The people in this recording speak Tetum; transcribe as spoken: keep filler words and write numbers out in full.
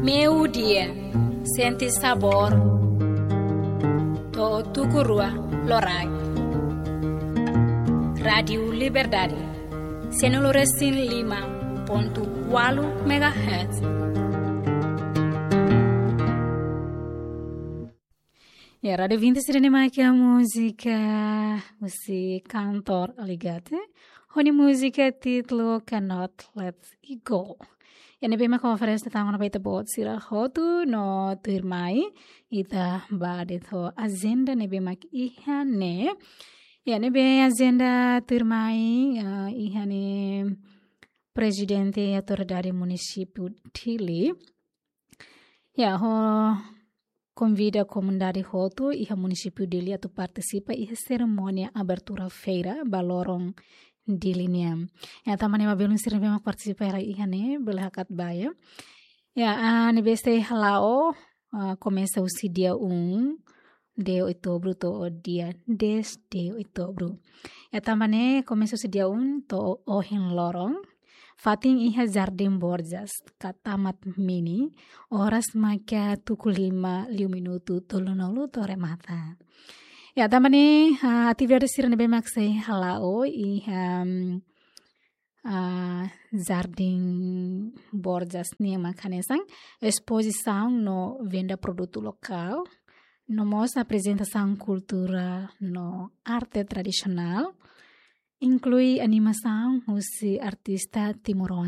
Meio-dia, sente sabor. To'o tuku rua loraik. Rádio Liberdade, cento e cinco e cinco ponto oito megahertz. Ya, rádio ouvinte sira ne'ebé mak múzika husi kantór Aligate. Ho nia múzika títulu Cannot Let It Go. Ya, ne'ebé mak oferese tanba ba ita-boot sira hotu no tuirmai ita ba de'it ho ajenda ne'ebé mak iha ne'e. Ya, ne'ebé ajenda tuirmai, ah, iha ne'e Prezidente Autoridade Munisípiu Dili. Ya, ho konvida komunidade hotu iha munisípiu Dili atu partisipa iha serimónia abertura feira ba loron Dili nian. Ya, tanba ne'e ema belun sira ne'ebé mak partisipa hela iha ne'e, bele hakat ba, ya. Ya, ah, ne'ebé sei hala'o, ah, komesa husi dia um de outubro to'o dia dez de outubro. Ya, tanba ne'e komesa husi dia um to'o ohin loron. Fatin iha Jardim Borjas, ka Taman Mini, oras maka tuku lima liu minutu tolunulu to'o remata. Ya, tanba ne'e, ah, atividade sira ne'ebé mak sei hala'o iha, mm, ah, Jardim Borjas nian mak hanesan espozisaun no venda produtu lokál, no mós aprezentasaun kultura no arte tradisionál, inklui animasaun husi artista timoroan